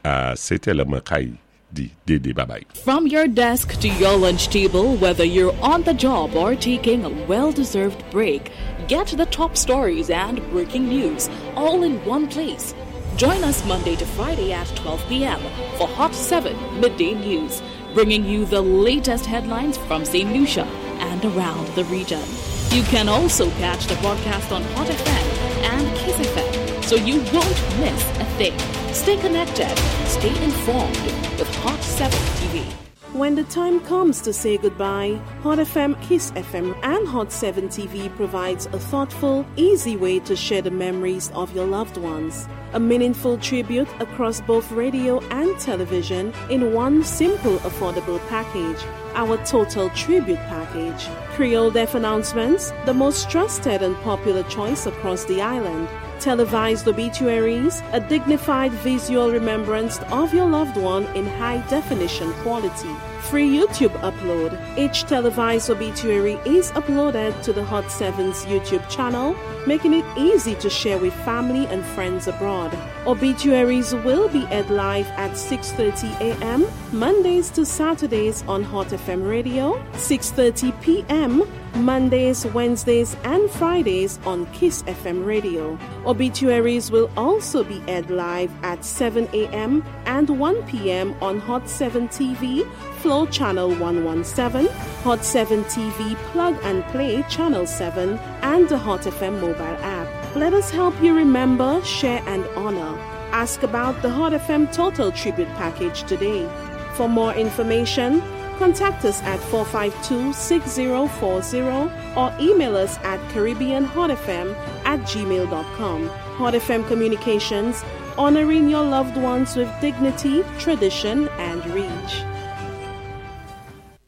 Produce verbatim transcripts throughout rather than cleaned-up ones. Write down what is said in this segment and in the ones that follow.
A sétè, lè mwen kay di dédé babay. From your desk to your lunch table, whether you're on the job or taking a well deserved break, get the top stories and breaking news all in one place. Join us Monday to Friday at twelve p m for Hot seven Midday News, bringing you the latest headlines from Saint Lucia and around the region. You can also catch the broadcast on Hot F M and Kiss F M, so you won't miss a thing. Stay connected, stay informed with Hot seven T V. When the time comes to say goodbye, Hot F M, Kiss F M, and Hot seven T V provides a thoughtful, easy way to share the memories of your loved ones. A meaningful tribute across both radio and television in one simple, affordable package. Our Total Tribute Package. Creole Death Announcements, the most trusted and popular choice across the island. Televised obituaries, a dignified visual remembrance of your loved one in high definition quality. Free YouTube upload. Each televised obituary is uploaded to the Hot seven's YouTube channel, making it easy to share with family and friends abroad. Obituaries will be aired live at six thirty a m. Mondays to Saturdays on Hot F M Radio, six thirty p m. Mondays, Wednesdays, and Fridays on Kiss F M Radio. Obituaries will also be aired live at seven a m and one p m on Hot seven T V, Flow Channel one one seven, Hot seven T V Plug and Play Channel seven, and the Hot F M mobile app. Let us help you remember, share, and honor. Ask about the Hot F M Total Tribute Package today. For more information, contact us at four five two, six zero four zero or email us at caribbeanhotfm at gmail dot com. Hot F M Communications, honoring your loved ones with dignity, tradition, and reach.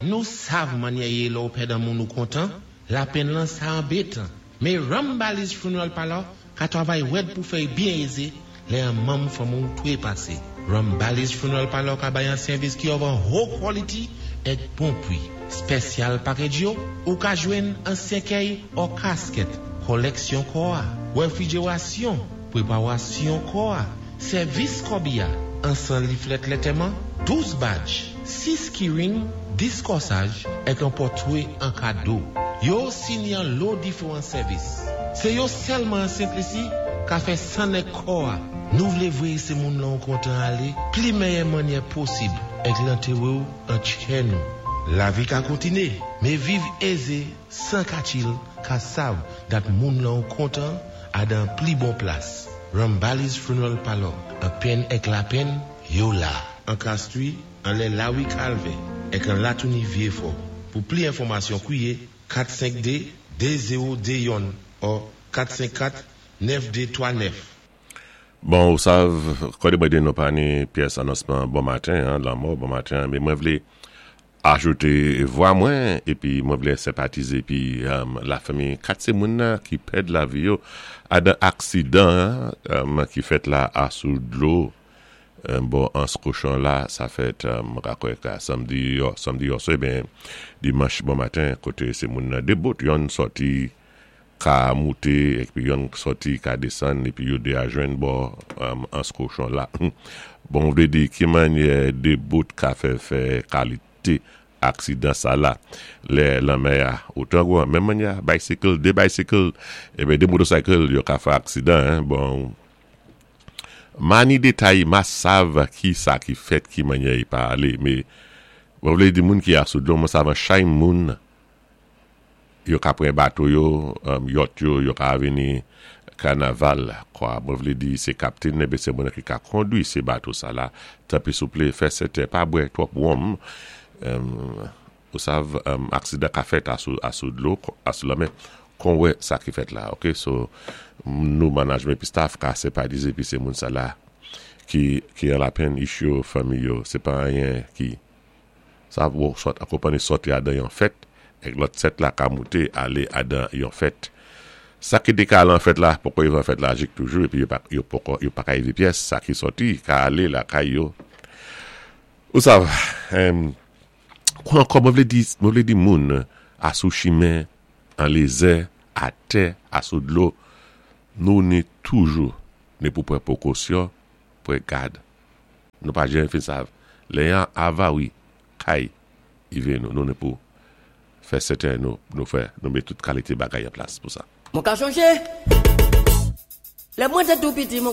Nou sav mannyè yé lè ou pèd an moun ou kontan, lapenn lan sa anbétan. Mé Rambali's Funeral Parlor ka twavay wèd pou fè byen ézé lè an manm fanmi ou twé pasé. Rambali's Funeral Parlor ka bay an sèvis ki of an ho quality èk bon pwi. Special package yo, ou ka jwenn an sèkèy ou kasket, koleksyon kò a, wefrijerasyon, pweparasyon kò a, sèvis kòbiya, an san leaflet lantèman, douz badge, sis keyring, dis kòsaj, èk an pòtwé an kado. Yo sini an lo diféwan sèvis. Sé yo sèlman an Sent Lisi ka fè sann èk kò a. Nou vlé vwé sé moun lan kontan alé, pli méyè mannyè posib, èk lantéwé ou an tchè nou. Lavi ka kontiné, mé viv ézé, san ka chill, ka sav dat moun lan kontan a dan pli bon plas. Rambali's Funeral Parlor, an penn èk lapenn, yo la. An Castries, anlè Lawi Calvin, èk an Latouni Vieux-Fort. Pou pli enfòmasyon, kwiyé kat senk de de zewo de youn ou kat senk kat nèf de twa nèf. Bon, ou sav, kòdé mwen di nou pa ni pyès anonsman bon maten, en, lanmò bon maten, mé mwen vlé ajouté vwa mwen, épi mwen vlé senpatizé épi um, lafanmi kat sé moun nan ki pèd lavi yo a dan aksidan um, ki fèt la a sou dlo um, bon Anse Cochon la, sa fèt um, kwè ka samdi yo, samdi yo so, ben dimanch bon maten, koté sé moun nan dé boat, yonn sòti ka mouté épi yonn sòti ka désann épi yo dé a jwenn bò um, Anse Cochon la. Bon, vlé di ki mannyè dé boat ka fè fè kalité aksidan sa la lè lanmè a otan gwan, menm mannyè bicycle, dé bicycle eh ben dé motocycle yo ka fè aksidan, hein. Bon, mani détay, ma sav ki sa ki fèt, ki mannyè y pa alé, mé mwen vlé di moun ki a sou dlo, mwen sav an chay moun yo ka pran bato yo, um, yacht yo, yo ka vini kanaval, kwa. Mwen vlé di sé kaptenn eh sé moun ki ka kondwi sé bato sa la. Tanpwi souplé, fè sèten pa bwè twòp wonm. Um, ou sav, um, aksidan ka fèt a sou, a sou dlo, a sou lanmè, kon wè sa ki fèt la, ok? So, nou management pi staff ka senpatizé pi sé moun sa la ki, ki an lapenn ich yo, fanmi yo, sé pa anyen ki sa ou sot akonpani sòti adan yon fèt, èk lòt sèt la ka mouté alé adan yon fèt. Sa ki té ka al an fèt la, poko yo an fèt la jik toujou, épi yo pa, yo poko, yo pa ka évé pyès, sa ki sòti, ka alé lakay yo. Ou sav, um, kwa ankò mwen vlé di, mwen vlé di moun a sou chimen, an lézè, a tè, a sou dlo, nou ni toujou ni pou pran pwékosyon, pran gad. Nou pa janm fin sav. Lè yon avari kay ivé nou, nou ni pou fè sèten nou, nou fè, nou mé tout kalité bagay an plas pou sa. Mwen ka chonjé. Lè mwen té tou piti, mwen